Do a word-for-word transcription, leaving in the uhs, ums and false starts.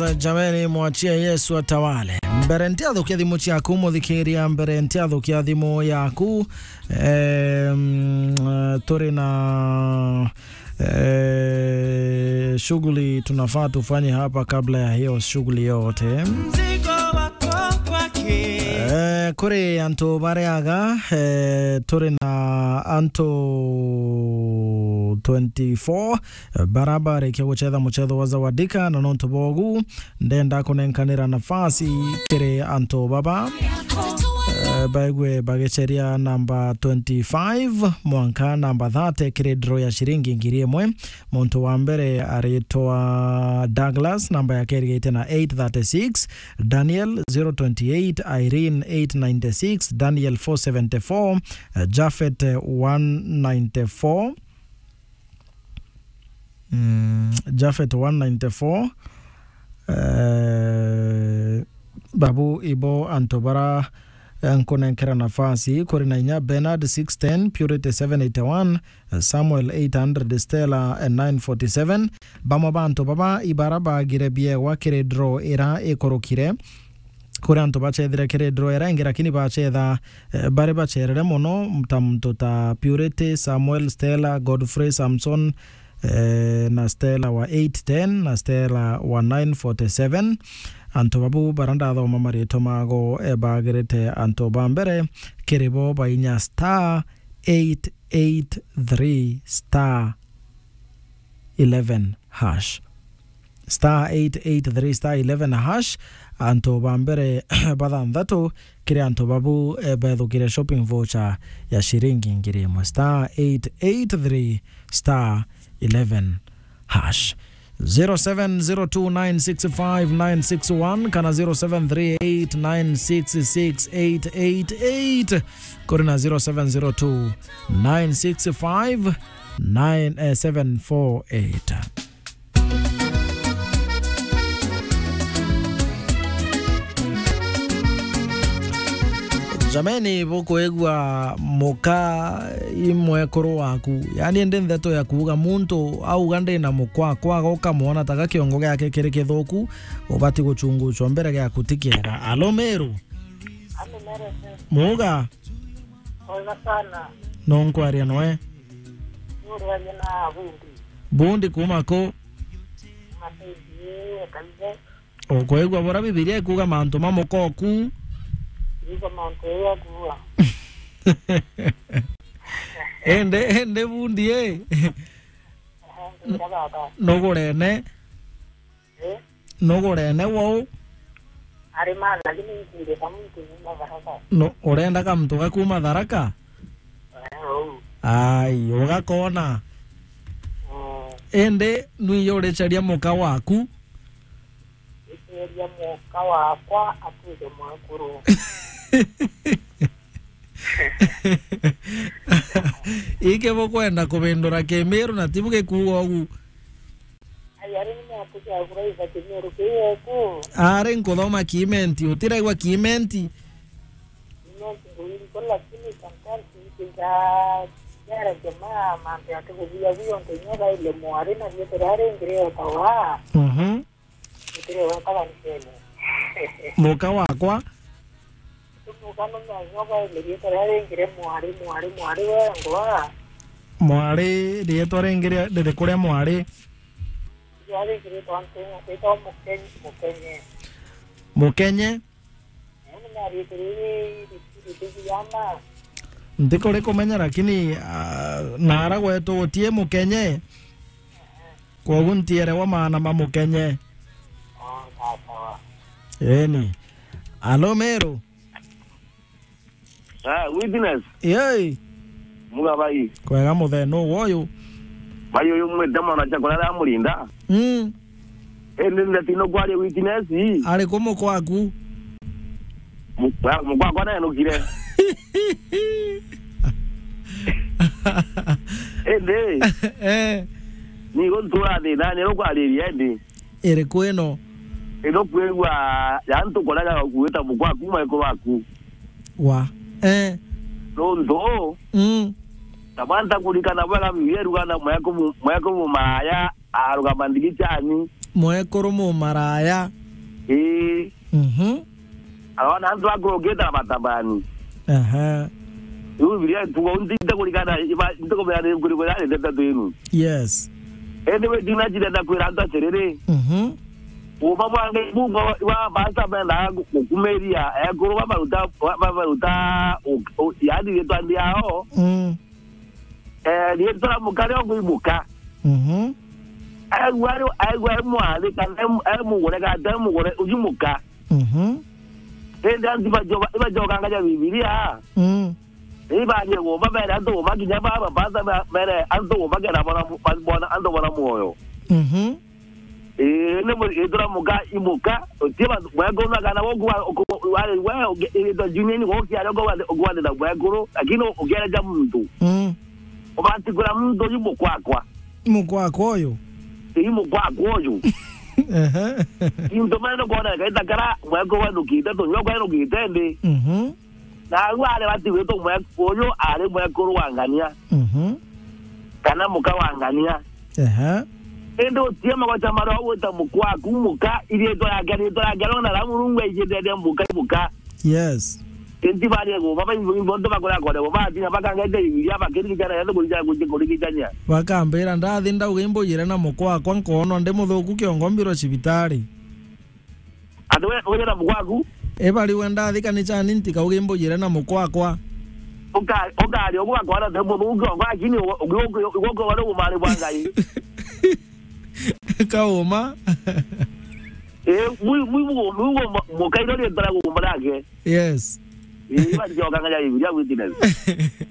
Jameni, mwachie Yesu atawale. Mbere ntiathukia thimu ciaku, muthikiria, mbere ntiathukia thimu yaku. Em, turi na, eh, shughuli tunafaa tufanye hapa kabla ya hiyo shughuli yote. Mzigo wako kwake. Eh, kuri antu bariaga, eh, turi na antu twenty-four, eh, bara barikia gucetha mucetho wa Zawadika, na nontu bogu, ndenda kunenkanira nafasi kiri antu baba, eh, baigwe bagiceria namba twenty-five mwanka namba thirty kiri draw ya ciringi ngiri imwe. Muntu wa mbere aritwa Douglas, namba yake irigite na eight thirty-six, Daniel zero twenty-eight, Irene eight ninety-six, Daniel four seventy-four, eh, Japhet, eh, one ninety-four. Mm, Japhet one ninety-four. Eh, babu ibo antu bara, eh, nkunenkera nafasi, kuri na inya Bernard six ten, Purity seven eighty-one, eh, Samuel eight hundred, Stella, eh, nine forty-seven. Bamwe ba antu baba ibara bagire biegwa kiri draw ira ikurukire. Kuri antu bachethire kiri draw ira ingi, lakini bachetha, eh, bari bacherere mono, ta muntu ta Purity, Samuel, Stella, Godfrey, Samson, eh, na Stella wa eight ten, na Stella wa nine forty-seven. Antu babu bara ndathoma maritwa mago, eh, bagirite antu ba mbere, kiri bo bainya star eight eight three star eleven hash. Star eight eight three star eleven hash, antu ba mbere bathanthatu kiri antu babu, eh, bethukire shopping voucher ya ciringi ngiri imwe. Star eight eight three star eleven hash. Zero seven zero two nine six five nine six one kana zero seven three eight nine six six eight eight eight. Kuri na zero seven zero two nine six five nine, eh, seven four eight. Jameni, bukwigua muka i mwekuru waku. Yaani, ndi ndeto ya kuuga muntu auga ndi na mukwa, kwaga ukamwona ta ga kiongo giake kiri kithuku, ubati guchunguchwa mbere giaku ti kiega. Alo, Meru? Alo, Meru, sir. Muuga? Wega sana. No nkwaria noe? Nuraria na bundi. Bundi kuma ku? Matindi, Kaize. Ukwigua bura Bibilia ikuuga mantu ma mukoku? Ikuuga mantu ya kuua. Ende, ende bundi, eh? Aha, ndio baba. Nugurene? Eh? Nugurene wou? Ari ma, lakini nkwire ka muntu kuma Tharaka. No, urenda ka muntu ga kuma Tharaka? Eh, ou. Ai, ugakona. Mm. Indi, nwiyo uricaria muka waku? Iceria muka wakwa atuike mwekuru. Iki bukwenda kubindura Kimiru na tibu gikuuga ugu. Ai, ari ni matuki agura iba Kimiru kiyeku. Ari nkuthoma Kimenti, utiraigua Kimenti? Kimenti nguiri ko, lakini sometimes nikiga jara jamaa mambe ati kuthia guyo nkenyoga ile mwari na rietwa ria ringi rietawa. Mhm. Itire wetaga Nkenya. Muka wakwa. Muka no mwanyoga ile rietwa ria ringi ria mwari, mwari, mwari wengwa. Mwari, rietwa ringi ria, ririku ria mwari? Ria ringi rietwa Nkenya, rietwa Mukenye, Mukenye. Mukenye? Yaani, na rietwa riri ri-, ri-, ri-, ri-, yana. Ntikuri kumenya, lakini, ah, nara gwetu gutie Mukenye. Kwogu ntierewa maana ma Mukenye. Oh, sawa, sawa. Eni. Alo, Meru. Ah, Witness. Yei. Muga bai. Kwega muthenya uyu. Bai uyu mwite mwana cha kurara amurinda. Mm. Indi ndatino kwaria Witness. Ari ku mukwaku? Mu-, wa-, mukwakwa naenukire. Indi. Eh. Ni guntura thina, ni rukwariria indi. Iriku ino? Ino kwigua ya antu kuraga gwita mukwa kuma iko baku. Wa. Eh. Nontu. Mm. Tabanta kurikana bwega Biblia iruga na mweko mu-, mweko mumaya arugama ndigi chani. Mwekuru mumaraya. Ii. Mhm. Arona antu akuru ukita na matabani. Aha. Riu Bibilia ituga, ntikurikana, ntikumenya ni nkurikana ni ndeto inu. Yes. Indi wi thina cirenda kwira antu atiriri. Mhm. Uuma bwa Ngai bungo iba basa benda gukumiria ekuru babaruta, babaruta, yani riitwa ndiao. Mm. Eh, riitwa ria muka rio gwimuka. Mhm. Aigua ari, aigua ari mwari kana ari, ari mugure kana atari mugure, uju muka. Mhm. Indi antu ibajoka, ibajokangaja Bibilia. Mm. Ibarie gumba mere antu gumba kinya baba basa mere antu gumba kena bona, bona antu bona muoyo. Mhm. Ii, ni mu-, riitwa ria muka imuka, utie ba-, mwekuru na kana woku wa-, uku-, wa-, we, uge-, riitwa Junior ni gokia rio kwa-, ukwandita mwekuru, lakini u-, ukiareja muntu. Mm. Ubati kwira muntu uyu mukwakwa. Mukwakwa uyu? Ii, mukwakwa uyu. Ehe. Into mene nukwona kaita kara mwekuru wenukite, tunywa kwenukite ndi. Mhm. Na au ari bati gwitwa mwe-, uyu ari mwekuru wa ngania. Mhm. Kana muka wa ngania. Ehe. Indi utie magoca maria ugwita muka waku muka, iriitwa riake, riitwa riake riona na Murungu aijite aria muka, muka. Yes. Indi barie gumba, ba imbo, imbo ntu bakuria kore gumba, atinya bakangete Bibilia, bakirigicana, yathe kurigicana, kurigicania. Bakambira, ndathi ndauga imbujire na muka wakwa, nkoonwa ndi muthuku kiongo mbirwe cibitari. Ati we, uje na mukwaku? Ibari we ndathi kanicani ntikauge imbujire na mukwakwa. Uka-, ukari ugwakwa na thimbo mugongo, lakini ugo-, ugo-, ugo-, ugo-, wale umari bwa Ngai. Kauma. Eh, mwi-, mwi-, mwi-, mwi-, mwi-, mukairo ri tara gumba nake. Yes. Eh, iba ndio kanganya Biblia witness.